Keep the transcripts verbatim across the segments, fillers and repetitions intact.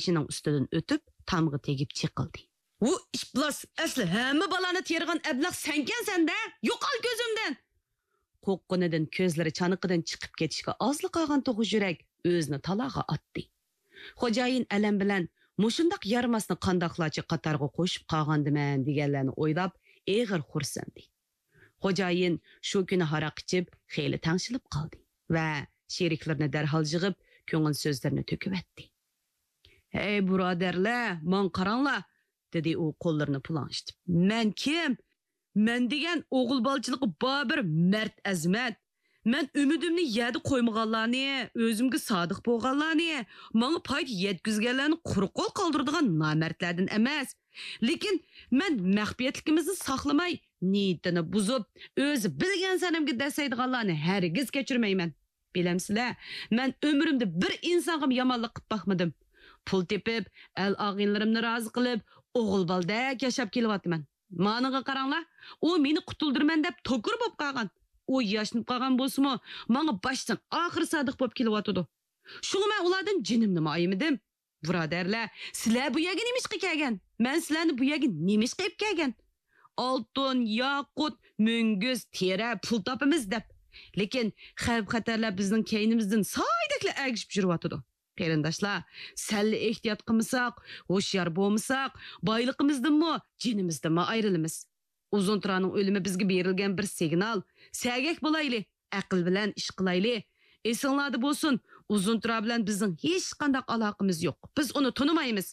بېشىنىڭ ئۈستىدىن ئۆتۈپ، تامغا تېگىپ چېقىلدى. ۋۇ ئىپلاس، ئەسلى ھەممە بالانى تېرىغان ئەبلەخ سەنكەن سەندە! يوقال كۆزۈمدىن! قورققىنىدىن كۆزلىرى چانىقىدىن چىقىپ كېتىشكە ئازلا قالغان توخۇ يۈرەك ئۆزىنى تالاغا ئاتتى. خوجايىن ئەلەم بىلەن مۇشۇنداق يارىماسنى قانداقلارچە قاتارغا قوشۇپ قالغاندىمەن دېگەنلەرنى ئويلاپ ئېغىر خورسىندى. خوجايىن شۇ كۈنى ھاراق ئىچىپ خېلى تەڭشىلىپ قالدى ۋە شېرىكلىرىنى دەرھال يىغىپ كۆڭۈل سۆزلىرىنى تۆكۈۋەتتى. ھەي بۇرادەرلەر، ماڭا قاراڭلار، دېدى ئۇ قوللىرىنى پۇلاڭشىتىپ. مەن كىم؟ مەن دېگەن ئوغۇل بالىچىلىقى بار بىر مەرد ئەزىمەت. مەن ئۈمىدىمنى يەردە قويمىغانلارنى، ئۆزۈمگە سادىق بولغانلارنى، ماڭا پايدا يەتكۈزگەنلەرنى قۇرۇق قول قالدۇرىدىغان نامەردلەردىن ئەمەس. لېكىن مەن مەخپىيەتلىكىمىزنى ساقلىماي، نىيىتىنى بۇزۇپ، ئۆزى بىلگەن سەنەمگە دەسسەيدىغانلارنى ھەرگىز كەچۈرمەيمەن. بىلەمسىلەر، مەن ئۆمرۈمدە بىر ئىنسانغىمۇ يامانلىق قىلىپ باقمىدىم. پۇل تېپىپ، ئەل-ئاغىنىلىرىمنى رازى قىلىپ، ئوغۇل بالىدەك ياشاپ كېلىۋاتىمەن. مانىڭغا قاراڭلار، ئۇ مېنى قۇتۇلدۇرىمەن دەپ توكۇر بولۇپ قالغان. ئۇ ياشىنىپ قالغان بولسىمۇ، ماڭا باشتىن ئاخىر سادىق بولۇپ كېلىۋاتىدۇ. شۇڭا مەن ئۇلاردىن جېنىمنىمۇ ئايىمىدىم. بۇرادەرلەر، سىلەر بۇ يەرگە نېمىشقا كەلگەن؟ مەن سىلەرنى بۇ يەرگە نېمىشقا ئېلىپ كەلگەن؟ ئالتۇن، ياقۇت، مۈڭگۈز، تېرە، پۇل تاپىمىز دەپ. لېكىن خەۋپ-خەتەرلەر بىزنىڭ كەينىمىزدىن سايدەكلا ئەگىشىپ يۈرۈۋاتىدۇ. قېرىنداشلار، سەللا ئېھتىيات قىلمىساق، ھوشيار بولمىساق، بايلىقىمىزدىنمۇ، جېنىمىزدىنمۇ ئايرىلىمىز. ئۇزۇن تۇرانىڭ ئۆلۈمى بىزگە بېرىلگەن بىر سىگنال. سەگەك بولايلى، ئەقىل بىلەن ئىش قىلايلى. ئېسىڭلاردا بولسۇن، ئۇزۇن تۇرا بىلەن بىزنىڭ ھېچقانداق ئالاقىمىز يوق. بىز ئۇنى تونۇمايمىز.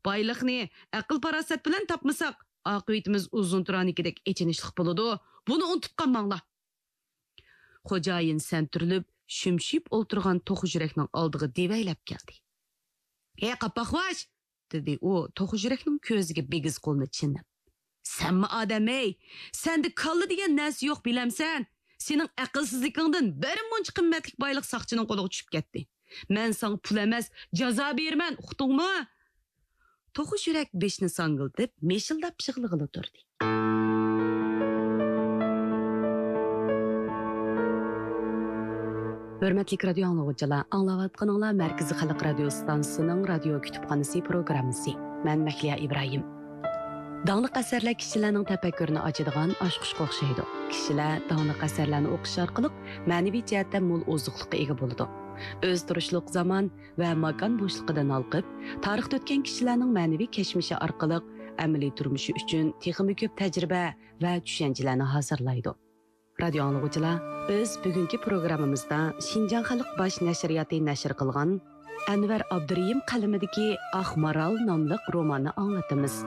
بايلىقنى ئەقىل-پاراسەت بىلەن تاپمىساق، ئاقىۋىتىمىز ئۇزۇن تۇرانىڭكىدەك ئېچىنىشلىق بولىدۇ. بۇنى ئۇنتۇپ قالماڭلار. خوجايىن سەنتۈرۈلۈپ، شۈمشىيىپ ئولتۇرغان توخۇ يۈرەكنىڭ ئالدىغا دېۋەيلەپ كەلدى. ھەي، قاپاقۋاش! دېدى ئۇ توخۇ يۈرەكنىڭ كۆزىگە بىگىز قولىنى چىنىپ. سەنمۇ ئادەم ھەي! سەندە كاللا دېگەن نەرسە يوق، بىلەمسەن؟ سېنىڭ ئەقىلسىزلىكىڭدىن بىر مۇنچە قىممەتلىك بايلىق ساقچىنىڭ قولىغا چۈشۈپ كەتتى. مەن ساڭا پۇل ئەمەس، جازا بېرىمەن، ئۇقتۇڭمۇ؟ توخۇ يۈرەك بېشىنى ساڭگىلىتىپ، مىشىلداپ يىغلىغىلى تۇردى. ھۆرمەتلىك رادىيو ئاڭلىغۇچىلار، ئاڭلاۋاتقىنىڭلار مەركىزىي خەلق رادىيو ئىستانسىسىنىڭ رادىيو كۇتۇپخانىسى پروگراممىسى. مەن مەھلىيا ئىبراھىم. داڭلىق ئەسەرلەر كىشىلەرنىڭ تەپەككۇرىنى ئاچىدىغان ئاچقۇچقا ئوخشايدۇ. كىشىلەر داڭلىق ئەسەرلەرنى ئوقۇش ئارقىلىق مەنىۋى جەھەتتە مول ئوزۇقلۇققا ئىگە بولىدۇ. ئۆزى تۇرۇشلۇق زامان ۋە ماكان بوشلۇقىدىن ھالقىپ، تارىختا ئۆتكەن كىشىلەرنىڭ مەنىۋى كەچمىشى ئارقىلىق ئەمەلىي تۇرمۇشى ئۈچۈن تېخىمۇ كۆپ تەجرىبە ۋە چۈشەنچىلەرنى ھازىرلايدۇ. رادىيو ئاڭلىغۇچىلار، بىز بۈگۈنكى پروگراممىمىزدا شىنجاڭ خەلق باش نەشرىياتى نەشر قىلغان ئەنۋەر ئابدۇرېھىم قەلىمىدىكى ئاق مارال ناملىق روماننى ئاڭلىتىمىز.